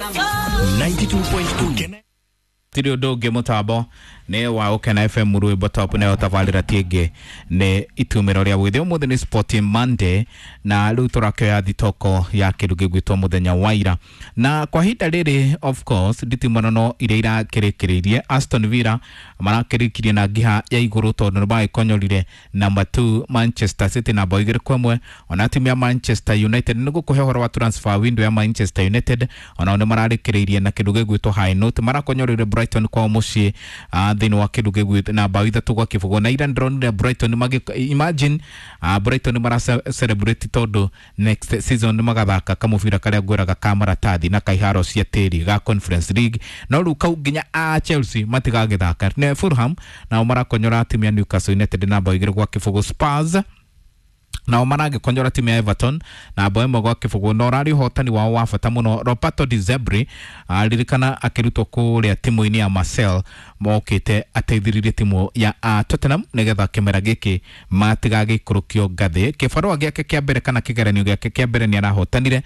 92.2 Tiri undu ungi mutambo ni wa Ukena FM rwimbo top nayo tabarira tingi ni itumiro ria gwithi umuthi ni Sporting Monday na riu turakioya thitoko ya kindu gigwitwo muthenya wa ira na kwa ihinda riri of course nditimũrano iria irakĩrĩkĩrĩirie Aston Villa marakĩrĩkirie na ngiha ya igũrũ tondũ nĩ magĩkonyorire number 2 Manchester City na bao 2-1. Ona timu ya Manchester United nĩ gũkũhe ũhoro wa transfer window ya Manchester United onao nĩ mararĩkĩrĩirie na kĩndũ gĩgwĩtwo high note marakonyorire Brighton kwao mũciĩ thĩinĩ wa kĩndũ gĩgwĩtwo na bao 3-0 na ira ndĩronire Brighton magi imagine Brighton mara celebrate tondũ next season nĩ magathaka kamũbira karĩa ngwĩraga ka maratathi na kaiharo cia tĩri ga Conference League no rĩu kau nginya a Chelsea matigagĩthaka ne Fulham nao marakonyora timu ya Newcastle United na bao 2-0. Spurs nao maragĩkonyora timu ya Everton na bao 1-0 na ũrarĩ ũhotani wao wa bata mũno. Roberto De Zerbi aririkana akĩrutwo kũrĩa timu-inĩ ya Marseille mokĩte ateithĩrĩrie timu ya Tottenham nĩgetha kĩmera gĩkĩ matigagĩikũrũkio ngathĩ. Kĩbarũa gĩake kĩa mbere kana kĩgeranio gĩake kĩa mbere nĩ arahotanire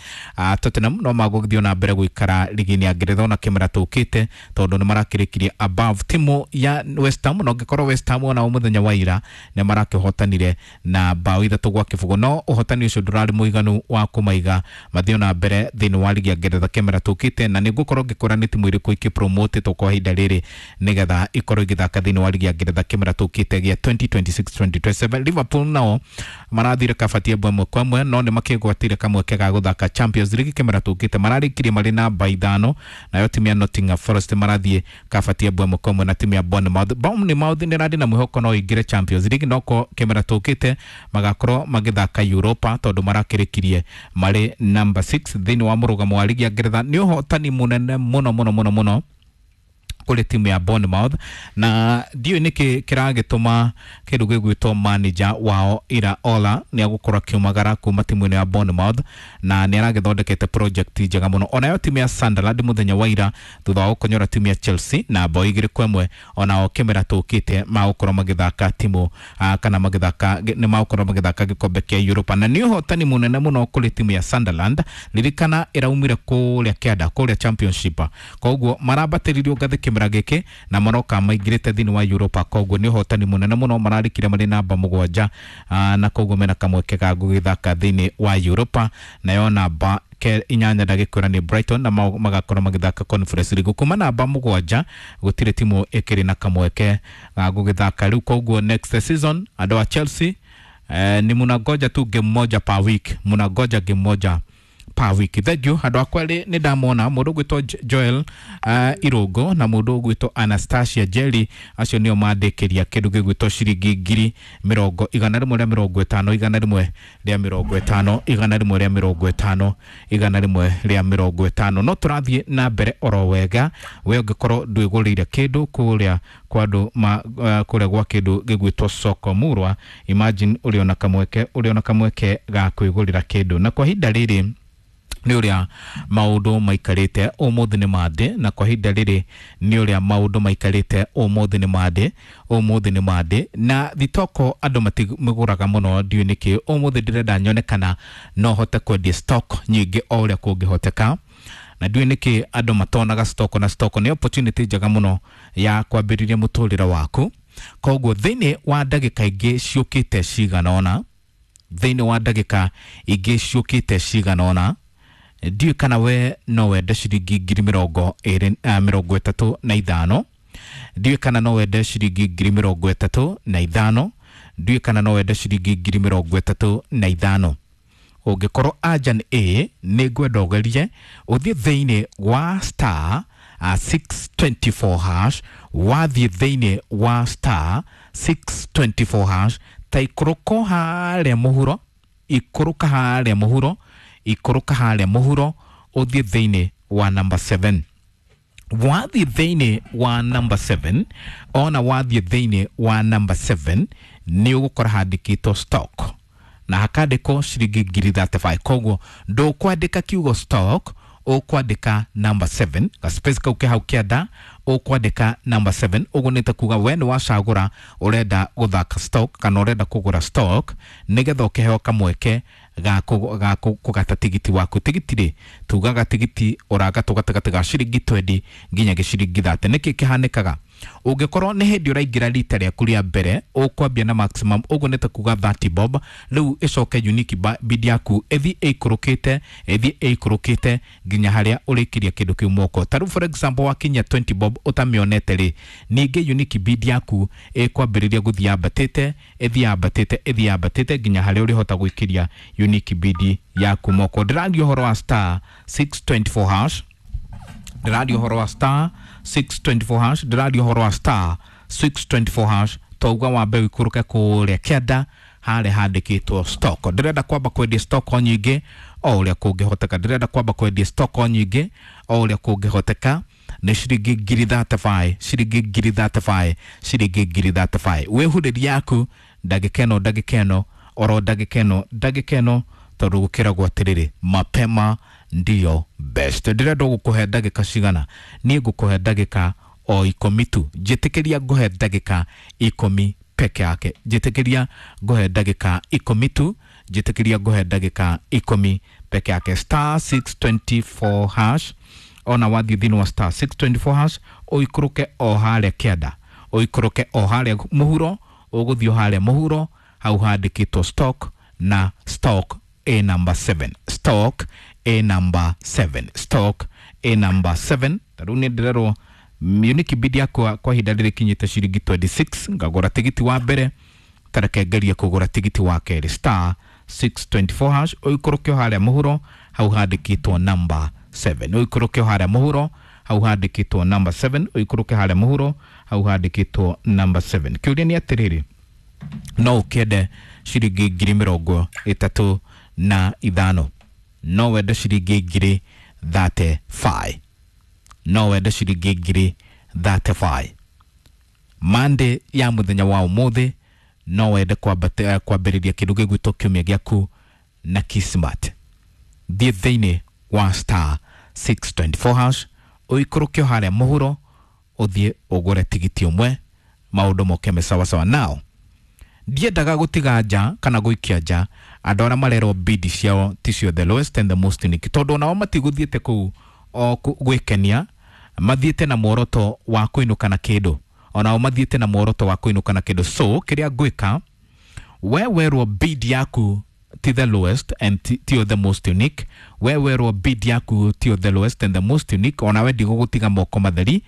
Tottenham no magũgĩthiĩ na mbere gũikara ligi-inĩ ya Ngeretha ona kĩmera tũkĩte tondũ nĩ marakĩrĩkirie above timu ya West Ham na ũngĩkorwo West Ham onao mũthenya wa ira nĩ marakĩhotanire na bao 3-0 no ũhotani ũcio ndũrarĩ mũiganu wa kũmaiga mathiĩ na mbere thĩinĩ wa ligi ya Ngeretha kĩmera tũkĩte na nĩ ngũkorwo ngĩkwĩra nĩ timu irĩkũ ikĩpromote kwa ihinda rĩrĩ nĩgetha ikorwo igĩthaka thĩinĩ wa ligi ya Ngeretha kĩmera tũkĩte gĩa 2026-2027. Liverpool nao marathire kabati 1-1 no nĩ makĩgwatire kamweke ga gũthaka Champions League kĩmera tũkĩte mararĩkirie marĩ namba 5 nayo timu ya Nottingham Forest marathiĩ kabati 1-1 na timu ya Bournemouth. Bournemouth nĩ ĩrarĩ na mwĩhoko no ĩingĩre Champions League no ko kĩmera tũkĩte magakorwo magĩthaka Europa tondũ marakĩrĩkirie marĩ number 6 thĩinĩ wa mũrũgamo wa ligi ya Ngeretha. Nĩ ũhotani mũnene mũno mũno mũno mũno kũrĩ timu ya Bournemouth na ndiũĩ nĩkĩ kĩragĩtũma kĩndũ gĩgwĩtwo manager wao Iraola nĩ agũkorwo akiumagara kuma timu ĩno ya Bournemouth na nĩ aragĩthondekete project njega mũno. Onayo timu ya Sunderland mũthenya wa ira thutha wa gũkonyora timu ya Chelsea na bao 2-1 onao kĩmera tũkĩte magũkorwo magĩthaka timu kana magĩthaka nĩ magũkorwo magĩthaka gĩkombe kĩa Europa na nĩ ũhotani mũnene mũno kũrĩ timu ya Sunderland. Ririkana ĩraumire kũrĩa kĩanda kũrĩa Championship koguo marambatĩririo ngathĩ kĩmera gĩkĩ na maroka maingĩrĩte thĩinĩ wa Europa koguo nĩ ũhotani mũnene mũno mararĩkire marĩ namba 7 na koguo mena kamweke ga gũgĩthaka thĩinĩ wa Europa nayo namba 8 ndagĩkwĩra nĩ Brighton na magakorwo magĩthaka Conference League kuma namba 7 gũtirĩ timu ĩkĩrĩ na kamweke ga gũgĩthaka rĩu koguo next season andũ a Chelsea ni munangoja tu game moja per week, munangoja game moja per week. Thank you andũ akwa erĩ nĩ ndamona mũndũ ũgwĩtwo Joel Irũngũ na mũndũ ũgwĩtwo Anastasia Jerry acio nĩo mandĩkĩria kĩndũ gĩgwĩtwo ciringi ngiri mĩrongo igana rĩmwe rĩa mĩrongo ĩtano igana rĩmwe rĩa mĩrongo ĩtano igana rĩmwe rĩa mĩrongo ĩtano igana rĩmwe rĩa mĩrongo ĩtano. No tũrathiĩ na mbere oro wega we ũngĩkorwo ndwĩgũrĩire kĩndũ kũrĩa kwa andũ kũrĩa gwa kĩndũ gĩgwĩtwo Soko Murwa imagine ũrĩ ona kamweke ũrĩ ona kamweke ga kwĩgũrĩra kĩndũ na kwa ihinda rĩrĩ nĩ ũrĩa maũndũ maikarĩte ũmũthĩ nĩ Monday na kwa ihinda rĩrĩ nĩ ũrĩa maũndũ maikarĩte ũmũthĩ nĩ Monday ũmũthĩ nĩ Monday na thitoko andũ matimĩgũraga mũno ndiũĩ nĩkĩ ũmũthĩ ndĩrenda nyone kana no hote kwendia stock nyingĩ o ũrĩa kũngĩhoteka na ndiũĩ nĩkĩ andũ matonaga stock na stock nĩ opportunity njega mũno ya kwambĩrĩria mũtũrĩre waku koguo thĩinĩ wa ndagĩka ingĩ ciũkĩte cigana ũna thĩinĩ wa ndagĩka ingĩ ciũkĩte cigana ũna ndiũĩ kana we no wende ciringi ngiri mĩrongo ĩrĩ mĩrongo ĩtatũ na ithano ndiũĩ kana no wende ciringi ngiri mĩrongo ĩtatũ na ithano ndiũĩ kana no wende ciringi ngiri mĩrongo ĩtatũ na ithano. Ũngĩkorwo anja nĩ ĩ nĩ ngwenda ũgerie ũthiĩ thĩinĩ wa star 624 hash wathiĩ thĩinĩ wa star 624 hash ta ikũrũko harĩa mũhuro ikũrũka harĩa mũhuro ikũrũka harĩa mũhuro ũthiĩ thĩinĩ wa number 7 wathiĩ thĩinĩ wa number 7 ona wathiĩ thĩinĩ wa number 7 nĩ ũgũkora handĩkĩtwo stock na hakandĩkwo ciringi ngiri 35 koguo ndũkwandĩka kiugo stock ũkwandĩka number 7 ga space kau ke hau kĩanda ũkwandĩka number 7 ũguo nĩ ta kuga we nĩ wacagũra ũrenda gũthaka stock kana ũrenda kũgũra stock nĩgetha ũkĩheo kamweke ga kũgata tigiti waku. Tigiti rĩ, tugaga tigiti ũragatwo gatagatĩ ga ciringi 20 nginya gĩciringi 30. Nĩkĩ kĩhanĩkaga? Ũngĩkorwo nĩ hĩndĩ ũraingĩra rita rĩaku rĩa mbere, ũkwambia na maximum, ũguo nĩ ta kuga 30 bob. Rĩu ĩcoke unique bid yaku ĩthiĩ ĩikũrũkĩte, ĩthiĩ ĩikũrũkĩte nginya harĩa ũrĩkiria kĩndũ kĩu moko. Ta rĩu for example wakinyia 20 bob ũtamĩonete rĩ, ningĩ unique bid yaku ĩkwambĩrĩria gũthiĩ yambatĩte, ĩthiĩ yambatĩte, ĩthiĩ yambatĩte nginya harĩa ũrĩhota gwĩkĩria unique bid yaku moko. Ndĩraria ũhoro wa star 624 hash, ndĩraria ũhoro wa star 624 hash, ndĩraria ũhoro wa star 624 hash. Twauga wambe ũikũrũke kũrĩa kĩanda harĩa handĩkĩtwo stock. Ndĩrenda kwamba kwendia stock o nyingĩ o ũrĩa kũngĩhoteka, ndĩrenda kwamba kwendia stock o nyingĩ o ũrĩa kũngĩhoteka. Nĩ ciringi ngiri 35, ciringi ngiri 35, ciringi ngiri 35. Wĩhurĩria yaku ndagĩka ĩno, ndagĩka ĩno, oro ndagĩka ĩno, ndagĩka ĩno, tondũ gũkĩragwo atĩrĩrĩ, mapema ndiyo best. Ndĩrenda gũkũhe ndagĩka cigana? Niĩ ngũkũhe ndagĩka o 10 tu. Njĩtĩkĩria ngũhe ndagĩka 10 peke yake, njĩtĩkĩria ngũhe ndagĩka 10 tu, njĩtĩkĩria ngũhe ndagĩka 10 peke yake. Star 624 hash, ona wathiĩ thĩinĩ wa star 624 hash, ũikũrũke o harĩa kĩanda, ũikũrũke o harĩa mũhuro, ũgũthiĩ o harĩa mũhuro hau handĩkĩtwo stock, na stock A number 7, stock A number 7, stock A number 7. Ta rĩu nĩ ndĩrerwo unique bid yakwa kwa ihinda rĩrĩ kinyĩte ciringi 26. Ngagũra tigiti wa mbere, tareke ngerie kũgũra tigiti wa kerĩ. Star 624 hash, ũikũrũke o harĩa mũhuro hau handĩkĩtwo number 7, ũikũrũke o harĩa mũhuro hau handĩkĩtwo number 7, ũikũrũke harĩa mũhuro hau handĩkĩtwo number 7. Kĩũria nĩ atĩrĩrĩ, no ũkĩende ciringi ngiri 35? No wende ciringi ngiri 35? No wende ciringi ngiri 35 Monday ya mũthenya wa ũmũthĩ? No wende kwambĩrĩria kĩndũ gĩgwĩtwo kiumia gĩaku na Kismat? Thiĩ thĩinĩ wa star 624 hash, ũikũrũke o harĩa mũhuro, ũthiĩ ũgũre tigiti ũmwe, maũndũ moke me sawasawa. Now ndiendaga gũtiga nja kana gũikia nja andũ arĩa marerwo bid ciao ticio the lowest and the most unique, tondũ onao matigũthiĩte kũu o gwĩkenia, mathiĩte na muoroto wa kũinũka na kĩndũ, onao mathiĩte na muoroto wa kũinũka na kĩndũ. So kĩrĩa ngwĩka, we werwo bid yaku ti the lowest and tio the most unique, we werwo bid yaku tio the lowest and the most unique, onawe ndigũgũtiga moko matheri.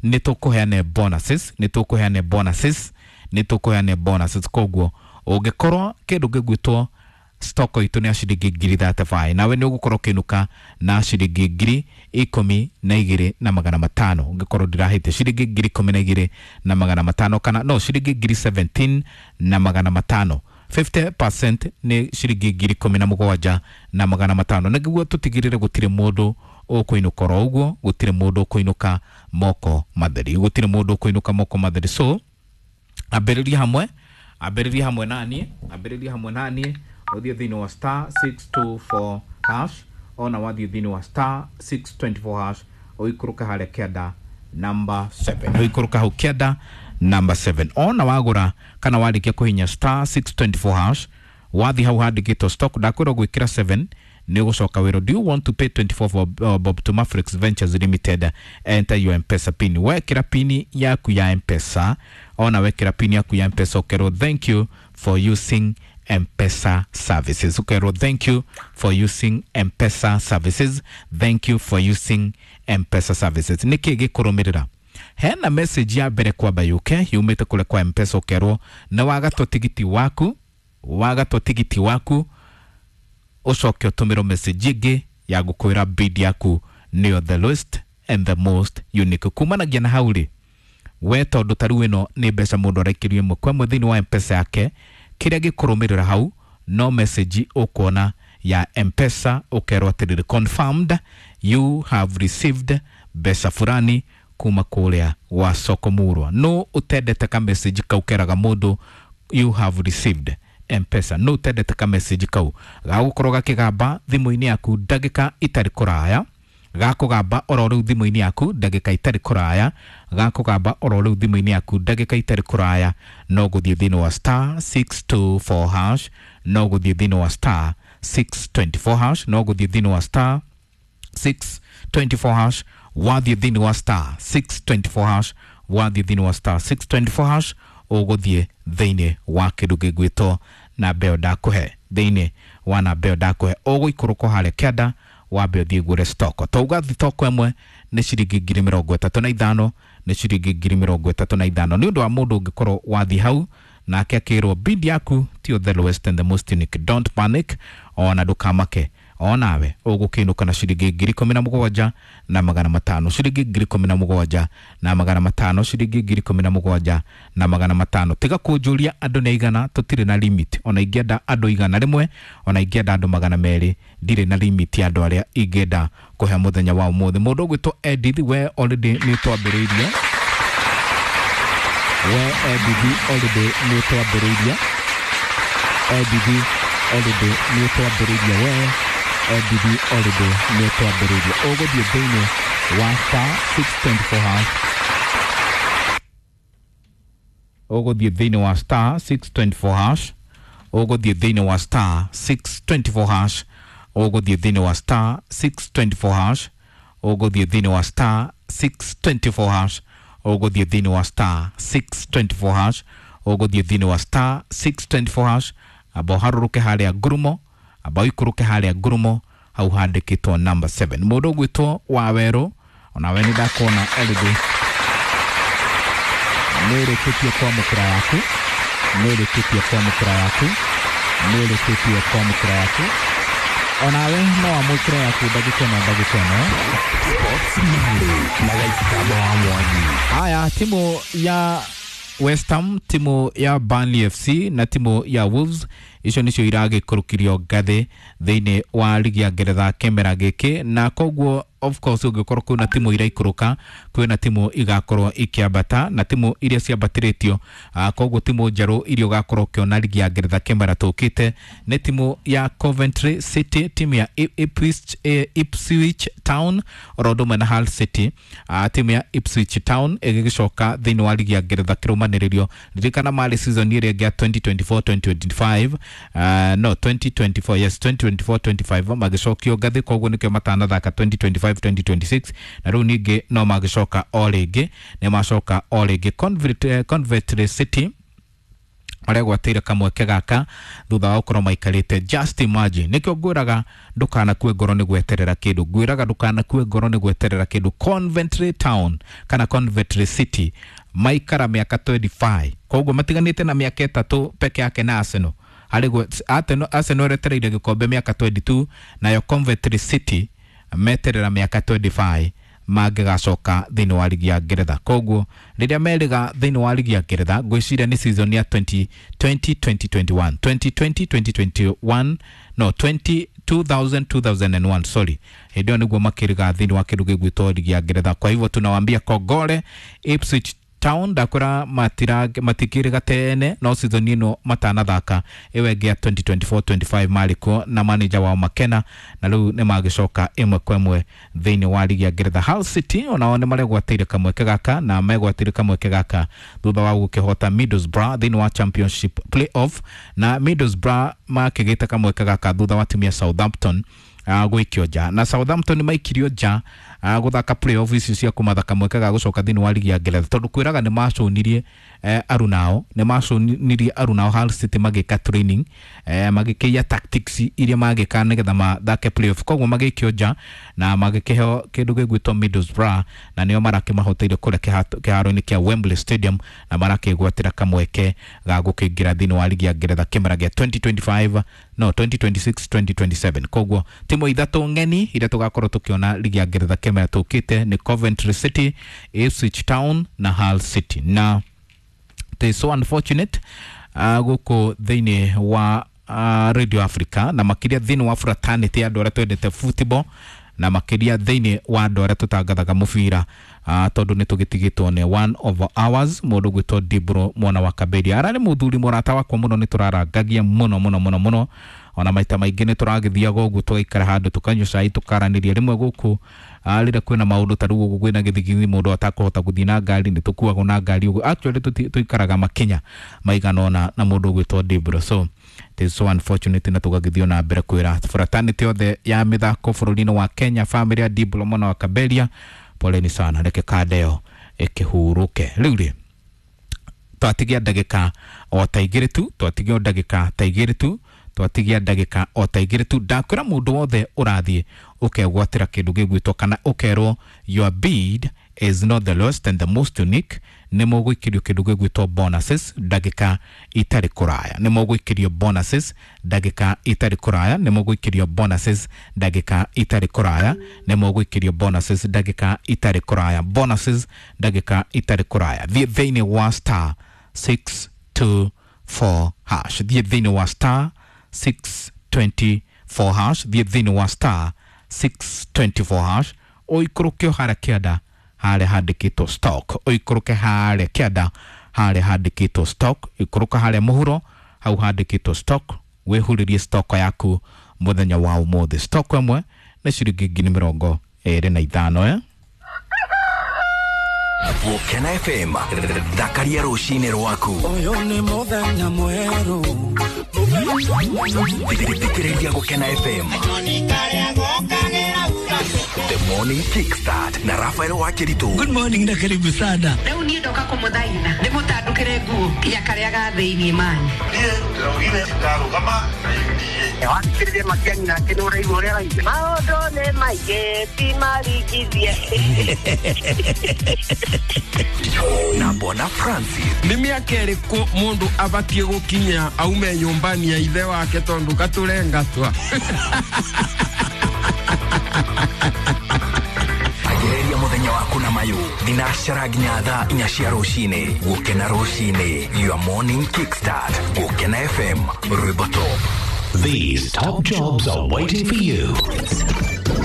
Nĩ tũkũheane bonuses, nĩ tũkũheane bonuses, nĩ tũkũheane bonuses. Koguo ũngĩkorwo kĩndũ gĩgwĩtwo stock itũ nĩ ya ciringi ngiri 35, nawe nĩ ũgũkorwo ũkĩinũka na ciringi ngiri 12,500. Ũngĩkorwo ndĩrahĩte, ciringi ngiri 12,500, kana no ciringi ngiri 17,500. 50% nĩ ciringi ngiri 17,500. Nĩguo tũtigĩrĩre gũtirĩ mũndũ ũkũinũka oro ũguo, gũtirĩ mũndũ ũkũinũka moko matheri, gũtirĩ mũndũ ũkũinũka moko matheri. So ambĩrĩria hamwe, ambĩrĩria hamwe naniĩ, ambĩrĩria hamwe naniĩ, ũthiĩ thĩinĩ wa star 624 hash. Ona wathiĩ thĩinĩ wa star 624 hash, ũikũrũke harĩa kĩanda number 7, ũikũrũke hau kĩanda number 7. Ona wagũra kana warĩkia kũhinya star 624 hash, wathiĩ hau handĩkĩtwo stock, ndakwĩrwo gwĩkĩra 7, nĩ ũgũcoka wĩrwo, do you want to pay 24 bob to Mafrix Ventures Limited? Enter your M-Pesa pin. Wekĩra pin yaku ya M-Pesa, ona wekĩra pin yaku ya M-Pesa, ũkerwo thank you for using M-Pesa services, ũkerwo thank you for using M-Pesa services, thank you for using M-Pesa services. Nĩkĩ gĩkũrũmĩrĩra? Hena message ya mbere kwamba yũke yumĩte kũrĩa kwa M-Pesa, ũkerwo nĩ wagatwo tigiti waku, wagatwo tigiti waku. Ũcoke ũtũmĩrwo message ĩngĩ ya gũkwĩra bid yaku nĩyo the lowest and the most unique. Kumanagia na hau rĩ, we tondũ ta rĩu ĩno nĩ mbeca mũndũ araikĩrio ĩmwe kwa ĩmwe thĩinĩ wa M-Pesa yake, kĩrĩa gĩkũrũmĩrĩra hau no message ũkuona ya M-Pesa, ũkerwo atĩrĩrĩ, confirmed you have received mbeca fulani kuma kũrĩa gwa soko murwa. No ũtendete ka message kau keraga mũndũ you have received M-Pesa? No ũtendete ka message kau gagũkorwo gakĩgamba thimũ-inĩ yaku ndagĩka itarĩ kũraya, gakũgamba oro rĩu thimũ-inĩ yaku ndagĩka itarĩ kũraya, gakũgamba oro rĩu thimũ-inĩ yaku ndagĩka itarĩ kũraya? No gũthiĩ thĩinĩ wa star 624 hash, no gũthiĩ thĩinĩ wa star 624 hash, no gũthiĩ thĩinĩ wa star 624 hash, wathiĩ thĩinĩ wa star 624 hash, wathiĩ thĩinĩ wa star 624 hash, ũgũthiĩ thĩinĩ wa kĩndũ gĩgwĩtwo namba ĩyo ndakũhe, thĩinĩ wa namba ĩyo ndakũhe ũgũikũrũka harĩa kĩanda wambe ũthiĩ ngũre stoko. Twauga thitoko ĩmwe nĩ ciringi 35,000, nĩ ciringi 35,000 nĩ ũndũ wa mũndũ ũngĩkorwo wathiĩ hau nake akĩrwo bid yaku tio the lowest and the most unique. Don't panic, ona ndũkamake, onawe ũgũkĩinũka na ciringi 17,500, ciringi 17,500, ciringi 17,500. Tiga kũnjũria andũ nĩ aigana, tũtirĩ na limit. Ona ingĩenda andũ 100, ona ingĩenda andũ 200, ndirĩ na limit ya andũ arĩa ingĩenda kũhe mũthenya wa ũmũthĩ. Mũndũ ũgwĩtwo Edith, we already nĩ twambĩrĩirie, we Edith already nĩ twambĩrĩirie, Edith already nĩ twambĩrĩirie, we Edith already nĩ twambĩrĩirie. Ũgũthiĩ thĩinĩ wa star 624 hash, ũgũthiĩ thĩinĩ wa star 624 hash, ũgũthiĩ thĩinĩ wa star 624 hash, ũgũthiĩ thĩinĩ wa star 624 hash, ũgũthiĩ thĩinĩ wa star 624 hash, ũgũthiĩ thĩinĩ wa star 624 hash, ũgũthiĩ thĩinĩ wa star 624 hash, amba ũharũrũke harĩa ngurumo, amba ũikũrũke harĩa ngurumo hau handĩkĩtwo number 7. Mũndũ ũgwĩtwo Wawerũ, onawe nĩ ndakuona already nĩ ũrĩkĩtie kwamũkĩra yaku, nĩ ũrĩkĩtie kwamũkĩra yaku, nĩ ũrĩkĩtie kwamũkĩra yaku, onawe no wamũkĩre yaku ndagĩka ĩno, ndagĩka ĩno. Sports Monday na Gaitaba wa Mwangi. Haya, timu ya West Ham, timu ya Burnley FC na timu ya Wolves icio nicio iragĩikũrũkirio ngathĩ thĩinĩ wa ligi ya Ngeretha kĩmera gĩkĩ, na koguo of course ũngĩkorwo kwĩna timu iraikũrũka, kwĩna timu igakorwo ikĩambata, na timu iria ciambatĩrĩtio, koguo timu njerũ iria ũgakorwo ũkĩona ligi ya Ngeretha kĩmera tũkĩte nĩ timu ya Coventry City, timu ya Ipswich Town oro ũndũ ũmwe na Hull City. Timu ya Ipswich Town ĩgĩgĩcoka thĩinĩ wa ligi ya Ngeretha kĩrũmanĩrĩrio. Ririkana marĩ season ĩrĩa ĩngĩ ya 2024 2025, no 2024, yes, 2024 25 magĩcokio ngathĩ, koguo nĩkĩo matanathaka 2025 2026, na rĩu ningĩ no magĩcoka o rĩngĩ, nĩ macoka o rĩngĩ. Coventry City maregwatĩire kamweke gaka thutha wa gũkorwo maikarĩte. Just imagine, nĩkĩo ngwĩraga ndũkanakue ngoro nĩ gweterera kĩndũ, ngwĩraga ndũkanakue ngoro nĩ gweterera kĩndũ. Coventry Town kana Coventry City maikara mĩaka 25, koguo matiganĩte na mĩaka 3 peke yake na Arsenal. Harĩ Arsenal ĩretereire gĩkombe mĩaka 22, nayo Coventry City meterera mĩaka 25 mangĩgacoka thĩinĩ wa ligi ya Ngeretha. Koguo rĩrĩa merĩga thĩinĩ wa ligi ya Ngeretha, ngwĩciria nĩ season ya 2020 2021, 2020 2021, no 20 2000 2001, sorry, hĩndĩ ĩyo nĩguo makĩrĩga thĩinĩ wa kĩndũ gĩgwĩtwo ligi ya Ngeretha. Kwa hivyo tunawaambia kongole Ipswich Town, ndakwĩra matikĩrĩga tene, no season ĩno matanathaka ĩyo ĩngĩ ya 2024 25 marĩ kuo na manager wao Makena, na rĩu nĩ magĩcoka ĩmwe kwa ĩmwe thĩinĩ wa ligi ya Ngeretha. Hull City onao nĩ maregwatĩire kamweke gaka, na megwatĩire kamweke gaka thutha wa gũkĩhota Middlesbrough thĩinĩ wa Championship playoff, na Middlesbrough makĩgĩte kamweke gaka thutha wa timu ya Southampton gũikio nja, na Southampton maikirio nja gũthaka playoff icio cia kũmatha kamweke ga gũcoka thĩinĩ wa ligi ya Ngeretha, tondũ kwĩraga nĩ macũnirie arunao, nĩ macũnirie arunao Hull City magĩka training, magĩkĩia tactics iria magĩka nĩgetha mathake playoff, koguo magĩikio nja na magĩkĩheo kĩndũ gĩgwĩtwo Middlesbrough, na nĩo marakĩmahoteire kũrĩa kĩharo-inĩ kĩa Wembley Stadium, na marakĩgwatĩra kamweke ga gũkĩingĩra thĩinĩ wa ligi ya Ngeretha kĩmera gĩa 2025, no 2026 2027. Koguo timu ithatũ ng'eni iria tũgakorwo tũkĩona ligi ya Ngeretha kĩmera tũkĩte nĩ Coventry City, Ipswich Town na Hull City. Na it is so unfortunate gũkũ thĩinĩ wa Radio Africa, na makĩria thĩinĩ wa fraternity ya andũ arĩa twendete football, na makĩria thĩinĩ wa andũ arĩa tũtangathaga mũbira, tondũ nĩ tũgĩtigĩtwo nĩ one of ours, mũndũ ũgwĩtwo Dibro mwana wa Kaberia. Ararĩ mũthuri mũrata wakwa mũno, nĩ tũrarangagia mũno mũno mũno mũno, Ona maita maingĩ nĩ tũragĩthiaga ũguo tũgaikara handũ tũkanyua cai tũkaranĩria rĩmwe gũkũ rĩrĩa kwĩna maũndũ ta rĩu ũguo kwĩna gĩthigithigi mũndũ atakũhota gũthiĩ na ngari nĩ tũkuagwo na ngari ũguo. Actually tũikaraga makinya maigana ũna na mũndũ ũgwĩtwo Dibro, so it is so unfortunate. Na tũgagĩthiĩ na mbere kwĩra fraternity yothe ya mĩthako bũrũri-inĩ wa Kenya, family ya Dibro mwana wa Kaberia, poleni sana, reke kanda ĩyo ĩkĩhurũke. Rĩu rĩ twatigia ndagĩka o ta igĩrĩ tu, twatigia o ndagĩka ta igĩrĩ tu, twatigia ndagĩka o ta igĩrĩ tu. Ndakwĩra mũndũ wothe ũrathiĩ ũkegwatĩra kĩndũ gĩgwĩtwo kana ũkerwo your bid is not the lowest and the most unique, nĩ mũgũikĩrio kĩndũ gĩgwĩtwo bonuses ndagĩka itarĩ kũraya. Nĩ mũgũikĩrio bonuses ndagĩka itarĩ kũraya. Nĩ mũgũikĩrio bonuses ndagĩka itarĩ kũraya. Nĩ mũgũikĩrio bonuses ndagĩka itarĩ kũraya. Bonuses ndagĩka itarĩ kũraya. Thiĩ thĩinĩ wa star 624 hash, thiĩ thĩinĩ wa star 624 hash, thiĩ thĩinĩ wa star 624 hash, ũikũrũke o harĩa kĩanda harĩa handĩkĩtwo stock, ũikũrũke harĩa kĩanda harĩa handĩkĩtwo stock, ikũrũka harĩa mũhuro hau handĩkĩtwo stock, wĩhurĩrie stock yaku mũthenya wa ũmũthĩ. Stock ĩmwe nĩ ciringi 25,000 eh? Gũkena FM thakaria rũcinĩ rwaku. Ũyũ nĩ mũthenya mwerũ. Thikĩrĩria Gũkena FM The Morning Kickstart na Rafael Wakiritu. Good morning na karibu sana. Rĩu niĩ ndoka kũmũthaitha ndĩmũtandũkĩre nguo nginya karĩa ga thĩiniĩ mani. Niĩ ndĩraugire ndarũgama na UDA. Wathikĩrĩria Matiang'i nake nĩ ũraigua ũrĩa araigua. Maũndũ nĩ maingĩ ti maringithie. Na Bwana Francis. Nĩ mĩaka ĩrĩkũ mũndũ abatiĩ gũkinya aume nyũmbani ya ithe wake tondũ gatũrengatwa? Agereria mũthenya waku na mayũ thinacara nginya thaa 4 cia rũcinĩ. Gũkena rũcinĩ, your morning kickstart. Gũkena FM, rwĩmbo top. These top jobs are waiting for you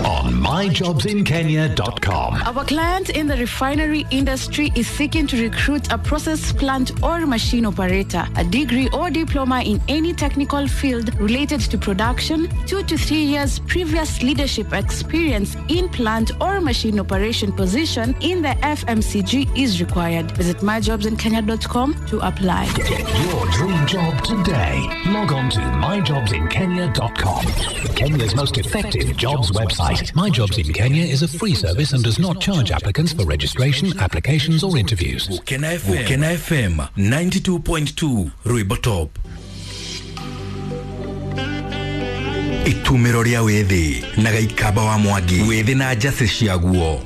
on myjobsinkenya.com. Our client in the refinery industry is seeking to recruit a process plant or machine operator, a degree or diploma in any technical field related to production, 2 to 3 years previous leadership experience in plant or machine operation position in the FMCG is required. Visit myjobsinkenya.com to apply. Get your dream job today. Log on to myjobsinkenya.com. Kenya's most effective jobs website. My Jobs in Kenya is a free service and does not charge applicants for registration, applications, or interviews. Gũkena FM, Gũkena FM 92.2 rwĩmbo top. Itumĩro rĩa wĩthĩ na Gaikamba wa Mwangi, wĩthĩ na njacĩ ciaguo.